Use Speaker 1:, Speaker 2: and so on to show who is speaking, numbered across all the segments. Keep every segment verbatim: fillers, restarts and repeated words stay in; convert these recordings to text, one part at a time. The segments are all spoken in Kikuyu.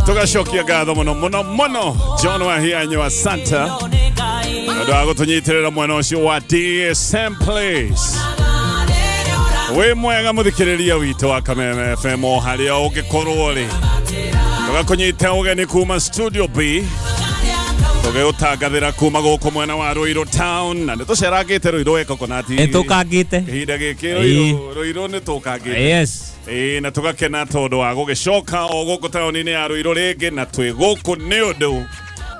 Speaker 1: Tugacokia ngatho muno muno muno John Wahianyo asante ndu wa gutunyitirira mwena ucio wa D S M Place. Wi mwega muthikiriria witu wa Kameme F M o haria ungikorwo ri tugakunyita ugeni kuma Studio B tugeutangathira kuma guku mwena wa Ruiru town na nitucerangite Ruiru Coconut
Speaker 2: nitukangite
Speaker 1: ihinda giki Ruiru Ruiru nitukangite.
Speaker 2: Yes.
Speaker 1: Ĩĩ na tugakena tondu wa gugicoka o guku taoni-inĩ ya Ruiru ringi na twi guku ni undu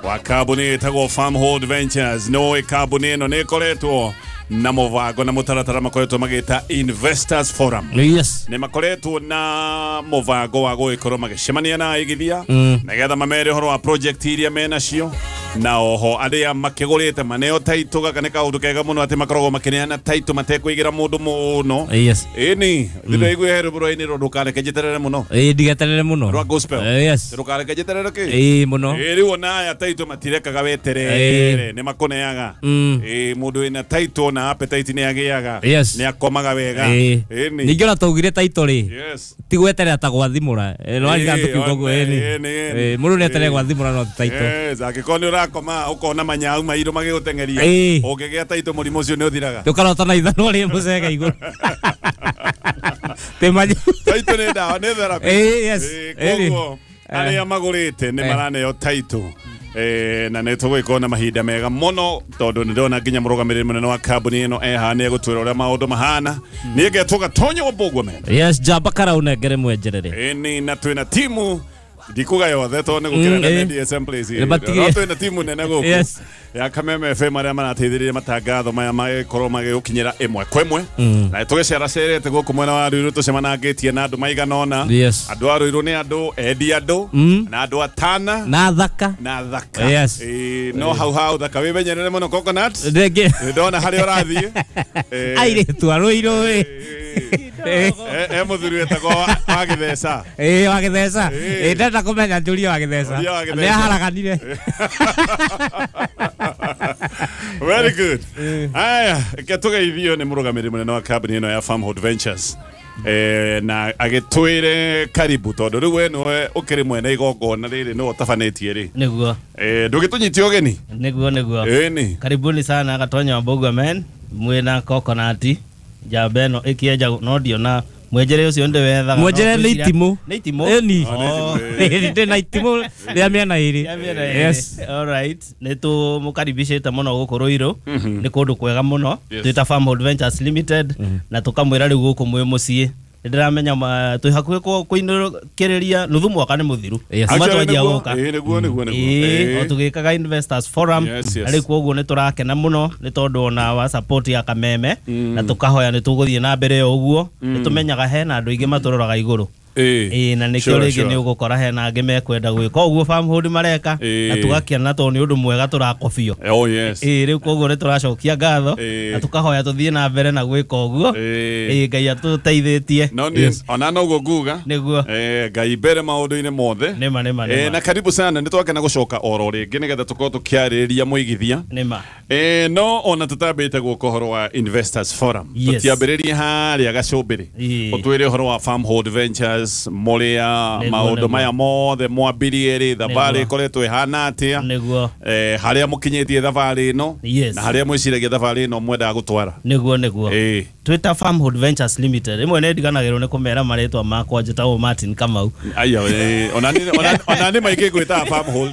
Speaker 1: wa kambuni ĩtagwo Farmhold Ventures. No kambuni ĩno nĩ ĩkoretwo na mũbango na mũtaratara makoretwo magĩta Investors Forum.
Speaker 2: Yes.
Speaker 1: Nĩ makoretwo na mũbango wa gũgĩkorwo magĩcemania na aigithia
Speaker 2: mm.
Speaker 1: nĩgetha mamere ũhoro wa project iria menacio na oho arĩa makĩgũrĩte maneo title. Gaka nĩ kaũndũ kega mũno atĩ makoragwo makĩneana title matekũigĩra mũndũ mũno.
Speaker 2: Yes.
Speaker 1: Ĩni ndĩraigua he rũbũro-inĩ rũ ndũkareke njeterere mũno.
Speaker 2: Ĩĩ ndigeterere mũno
Speaker 1: rwa gospel.
Speaker 2: Yes.
Speaker 1: Ndũkareke njeterere kĩ.
Speaker 2: Ĩĩ mũno.
Speaker 1: Ĩĩ rĩu ona aya title matirekaga weterere nĩ makũneaga. Ĩĩ mũndũ wĩna title na appetite nĩ agĩaga nĩ akomaga wega. Ĩni
Speaker 2: ningĩ ona twaugire title rĩ.
Speaker 1: Yes.
Speaker 2: Ti gweterera ta gwathimũra no arĩ tũkiuga ũguo. Ĩni mũndũ nĩ eterere gwathimũra no title.
Speaker 1: Yes, angĩkorwo nĩ ũrakoma ũkona manyau mairũ magĩgũteng'eria ũngĩgĩa title mũrimũ ũcio nĩ ũthiraga.
Speaker 2: Tũkarota na ithanwa rĩ mũcege igũrũ. Tĩmanyu
Speaker 1: title nĩ ndawa nĩ therapy.
Speaker 2: Yes.
Speaker 1: Koguo arĩa magũrĩte nĩ maraneo title. Eh, na nĩ tũgũgĩkorwo na mahinda mega mũno tondũ nĩ ndĩrona nginya mũrũgamĩrĩri mũnene wa kambuni ĩno eha nĩ egũtwĩra ũrĩa maũndũ mahana. Niĩ ngetwo Gatonyo wa Mbũgua mena.
Speaker 2: Yes, njamba karaunengere mwenjerere.
Speaker 1: Ĩni na twĩna timu ndikuga yothe tondũ nĩ gũkĩra na D S M Place. No twĩna timu nene gũkũ
Speaker 2: Yes.
Speaker 1: ya Kameme F M arĩa marateithĩrĩria matangatho maya magĩkorwo magĩgũkinyĩra ĩmwe kwa ĩmwe. Na tũgĩceracerete gũkũ mwena wa Ruiru tũcemanangĩtie na andũ maigana ũna.
Speaker 2: Yes.
Speaker 1: Andũ a Ruiru nĩ andũ endi andũ na andũ atana
Speaker 2: na thaka
Speaker 1: na thaka.
Speaker 2: Yes.
Speaker 1: No hau hau thaka wĩmenyerere mũno Coconut.
Speaker 2: Ndĩngĩ
Speaker 1: ndona harĩa ũrathiĩ.
Speaker 2: Airĩtu a Ruiru ĩ
Speaker 1: e mũthuri wetagwo wa Gĩtheca.
Speaker 2: Ĩĩ wa Gĩtheca. Ĩĩ ndenda kũmenya njũria wa Gĩtheca. Nĩ aharaganire.
Speaker 1: Very good. Aya, reke tũgeithio nĩ mũrũgamĩrĩri mũnene wa kambuni ĩno ya Farmhold Ventures. Eh, na agĩtwĩre karibu tondũ rĩu we nĩwe ũkĩrĩ mwene igongona rĩrĩ nĩwe ũtabanĩtie rĩ.
Speaker 3: Nĩguo.
Speaker 1: Eh, ndũgĩtũnyitie ũgeni?
Speaker 3: Nĩguo nĩguo.
Speaker 1: Ĩni.
Speaker 3: Karibuni sana Gatonyo wa Mbũgua men mwĩna Coconut njamba ĩno ĩkĩenja no ndiona mwenjere ũcio ndĩwethaga.
Speaker 2: Mwenjere nĩ itimũ.
Speaker 3: Nĩ itimũ?
Speaker 2: Ĩni. Ndĩ na itimũ rĩa mĩena ĩrĩ. Yes.
Speaker 3: All right. Nĩ tũmũkaribicĩte mũno gũkũ Ruiru. Nĩ kũndũ kwega mũno. Twĩta Farmhold Ventures Limited na tũkamwĩra rĩu gũkũ mwĩ mũciĩ. Nĩ ndĩramenya twĩ hakuhĩ kũinũkĩrĩria nuthu mwaka nĩ mũthiru. Kuma twanjia gũka.
Speaker 1: Ĩĩ nĩguo nĩguo nĩguo.
Speaker 3: Ĩĩ o tũgĩkaga Investors Forum. Na rĩu koguo nĩ tũrakena mũno nĩ tondũ ona wa support ya Kameme na tũkahoya nĩ tũgũthiĩ na mbere o ũguo. Nĩ tũmenyaga hena andũ aingĩ matũroraga igũrũ. Ĩĩ na nĩkĩo rĩngĩ nĩ ũgũkora hena angĩ mekwenda gwĩka ũguo Farmhold mareka na tũgakena tondũ nĩ ũndũ mwega tũrakobio.
Speaker 1: Oh yes.
Speaker 3: Ĩĩ rĩu koguo nĩ tũracokia ngatho na tũkahoya tũthiĩ na mbere na gwĩka ũguo. Ĩĩ Ngai atũteithĩtie.
Speaker 1: No nĩ ona noguo nguga.
Speaker 3: Nĩguo.
Speaker 1: Eh Ngai mbere maũndũ-inĩ mothe.
Speaker 3: Nĩma nĩma nĩma.
Speaker 1: Na karibu sana nĩ twakena gũcoka oro rĩngĩ nĩgetha tũkorwo tũkĩarĩrĩria mũigithia.
Speaker 3: Nĩma.
Speaker 1: Eh no ona tũtambĩte gũka ũhoro wa Investors Forum. Tũtiambĩrĩrie harĩa gacũmbĩrĩ. Ũtwĩre ũhoro wa Farmhold Ventures mũrĩa maũndũ maya mothe mwambirie rĩ thabarĩ ĩkoretwo ĩhana atĩa.
Speaker 3: Nĩguo.
Speaker 1: Eh harĩa mũkinyĩtie thabarĩ ĩno na harĩa mwĩciragia thabarĩ ĩno mwendaga gũtwara.
Speaker 3: Nĩguo nĩguo. Twĩta Farmhold Ventures Limited rĩmwe nĩ ndiganagĩrwo nĩ kũmera marĩtwa makwa njĩtagwo Martin Kamau.
Speaker 1: Aya ona nĩ ona nĩ maingĩ ngwĩtaga Farmhold.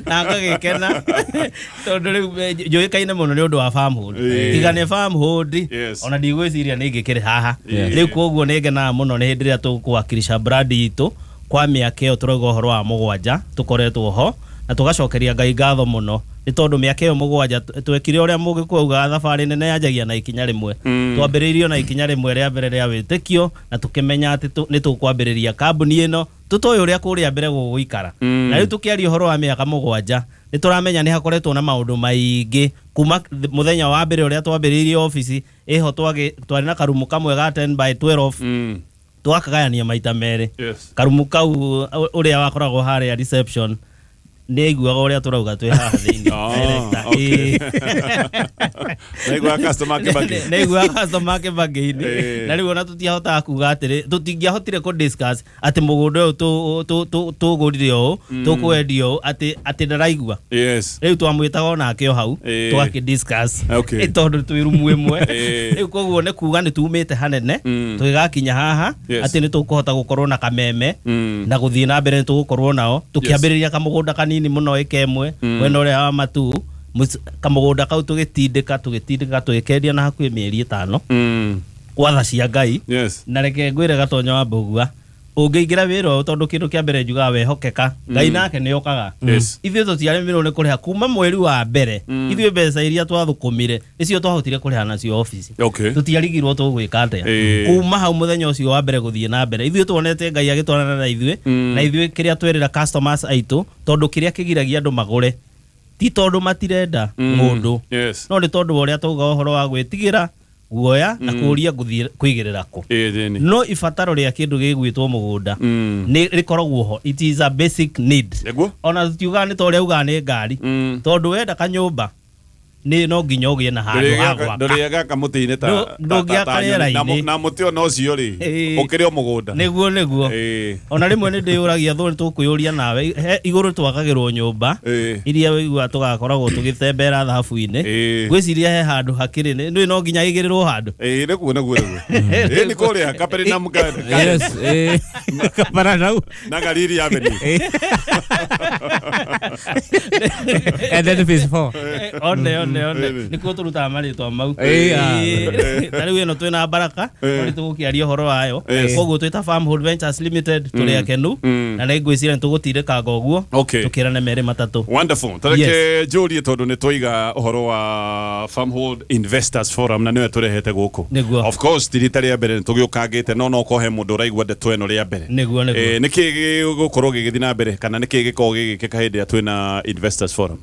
Speaker 3: Na ngagĩkena tondũ rĩu njũĩkaine mũno nĩ ũndũ wa Farmhold. Tiga nĩ Farmhold ona ndigwĩciria nĩ ingĩkĩrĩ haha. Rĩu koguo nĩ ngenaga mũno nĩ hĩndĩ ĩrĩa tũkwakilisha brand itũ kwa mĩaka ĩyo tũrauga ũhoro wa mũgwanja tũkoretwo ho na tũgacokeria Ngai ngatho mũno nĩ tondũ mĩaka ĩyo mũgwanja twekire ũrĩa mũgĩkũyũ augaga thabarĩ nene yanjagia na ikinya rĩmwe. Twambĩrĩirio na ikinya rĩmwe rĩa mbere rĩa wĩtĩkio na tũkĩmenya atĩ nĩ tũkwambĩrĩria kambuni ĩno tũtoĩ ũrĩa kũrĩa mbere gũgũikara. Na rĩu tũkĩaria ũhoro wa mĩaka mũgwanja nĩ tũramenya nĩ hakoretwo na maũndũ maingĩ kuma mũthenya wa mbere ũrĩa twambĩrĩirie obici ĩho twarĩ na karumu kamwe ga ten by twelve twakagayania maita merĩ. Karumu kau ũrĩa wakoragwo harĩa reception Nĩ aiguaga ũrĩa tũrauga twĩ haha thĩinĩ.
Speaker 1: Ah, okay. Nĩaiguaga customer Kibaki.
Speaker 3: Nĩ aiguaga customer Kibaki-inĩ.
Speaker 1: Eh.
Speaker 3: Na rĩu ona tũtiahotaga kuga atĩrĩ, tũtingĩahotire kũ discuss atĩ mũgũnda ũyũ tũ- tũ- tũ- tũgũrire ũũ, tũkwendia ũũ, atĩ atĩ ndaraigua.
Speaker 1: Yes.
Speaker 3: Rĩu twamwĩtaga onake o hau,
Speaker 1: Eh.
Speaker 3: tũgakĩ discuss.
Speaker 1: Okay.
Speaker 3: Ĩ tondũ twĩ rumu ĩmwe.
Speaker 1: Eh.
Speaker 3: Rĩu koguo nĩ kuga nĩ tumĩte hanene,
Speaker 1: Mm.
Speaker 3: tũgĩgakinya haha
Speaker 1: Yes.
Speaker 3: atĩ nĩ tũkũhota gũkorwo na kameme
Speaker 1: Mm.
Speaker 3: na gũthiĩ na mbere nĩ tũgũkorwo nao tũkĩambĩrĩria kamũgũnda kanini mũno ĩka ĩmwe mwena ũrĩa wa Matuu. Mũc- kamũgũnda kau tũgĩtindĩka tũgĩtindĩka tũgĩkendia na hakuhĩ mĩeri ĩtano
Speaker 1: Mm.
Speaker 3: kwa tha cia Ngai.
Speaker 1: Yes.
Speaker 3: Na reke ngwĩre Gatonya wa Mbũgua, ũngĩingĩra wĩra ũyũ, tondũ kĩndũ kĩa mbere njugaga wehokeka, Ngai nake nĩ okaga.
Speaker 1: Yes.
Speaker 3: Ithuĩ tũtiarĩmirwo nĩ kũrĩha kuma mweri wa mbere. Ithuĩ mbeca iria twathũkũmire nĩcio twahotire kũrĩha nacio obici.
Speaker 1: Okay.
Speaker 3: Tũtiarigirwo tũgwĩka atĩa.
Speaker 1: Eh.
Speaker 3: Kuma hau mũthenya ũcio wa mbere gũthiĩ na mbere, ithuĩ tuonete Ngai agĩtwarana na ithuĩ. Na ithuĩ kĩrĩa twerĩra customers aitũ, tondũ kĩrĩa kĩgiragia andũ magũre ti tondũ matirenda mũndũ,
Speaker 1: Yes.
Speaker 3: no nĩ tondũ wa ũrĩa twauga ũhoro wa gwĩtigĩra guoya na kũũria ngũthiĩ kũigĩrĩra kũ.
Speaker 1: Ĩĩ, thĩni.
Speaker 3: No ibataro rĩa kĩndũ gĩgwĩtwo mũgũnda
Speaker 1: Mm.
Speaker 3: nĩ rĩkoragwo ho, it is a basic need.
Speaker 1: Nĩguo?
Speaker 3: Ona tutiugaga nĩ ta ũrĩa ugaga nĩ ngari,
Speaker 1: Mm.
Speaker 3: tondũ wenda kanyũmba nĩ no nginya ũgĩe na handũ ha gwaka.
Speaker 1: Ndũrĩgaka mũtĩ-inĩ ta
Speaker 3: Ndũ-
Speaker 1: ta- ta-
Speaker 3: ndũngĩaka
Speaker 1: ta nyoni. Na
Speaker 3: rĩera-inĩ.
Speaker 1: mũ- na mũtĩ ona ũcio rĩ,
Speaker 3: Ĩĩ.
Speaker 1: ũkĩrĩ o mũgũnda.
Speaker 3: Nĩguo nĩguo.
Speaker 1: Ĩĩ.
Speaker 3: Ona rĩmwe nĩ ndĩyũragia thũ nĩ tũkwĩyũria nawe, he igũrũ twakagĩrwo nyũmba
Speaker 1: Ĩĩ.
Speaker 3: iria wĩigua tũgakoragwo tũgĩtembera thahabu-inĩ.
Speaker 1: Ĩĩ.
Speaker 3: Ngwĩciria he handũ hakĩrĩ nĩ nĩ no nginya ĩigĩrĩrwo handũ.
Speaker 1: Ĩĩ, nĩguo nĩguo nĩguo. Ĩĩ, nĩ kũrĩa Capernaum Garden.
Speaker 2: Yes, eh, Kaparanau.
Speaker 1: Na Galili Avenue.
Speaker 2: And then phase four.
Speaker 3: One one one
Speaker 1: Ĩĩ.
Speaker 3: nĩkuo tũrutaga marĩtwa mau.
Speaker 2: Ĩĩ, ah.
Speaker 3: Ĩĩ. Ta rĩu ĩno twĩna Baraka,
Speaker 1: Ĩĩ.
Speaker 3: no nĩ tũgũkĩaria ũhoro wayo.
Speaker 1: Yes.
Speaker 3: Koguo twĩ ta Farmhold Ventures Limited tũrĩ akenu,
Speaker 1: Mm.
Speaker 3: na nĩ ngwĩciria nĩ tũgũtindĩkanga ũguo
Speaker 1: Okay.
Speaker 3: tũkĩrane merĩ matatũ.
Speaker 1: Wonderful. Tareke njũrie tondũ nĩ twaiga ũhoro wa Farmhold Investors Forum na nĩwe tũrehete gũkũ.
Speaker 3: Nĩguo.
Speaker 1: Of course ti rita rĩa mbere nĩ tũgĩũkangĩte, no no kohe mũndũ ũraigua ndeto ĩno rĩa mbere.
Speaker 3: Nĩguo nĩguo.
Speaker 1: Eh, nĩkĩ gĩgũkorwo gĩgĩthiĩ na mbere kana nĩkĩ gĩkoragwo gĩgĩkĩka hĩndĩ ĩrĩa twĩna Investors Forum?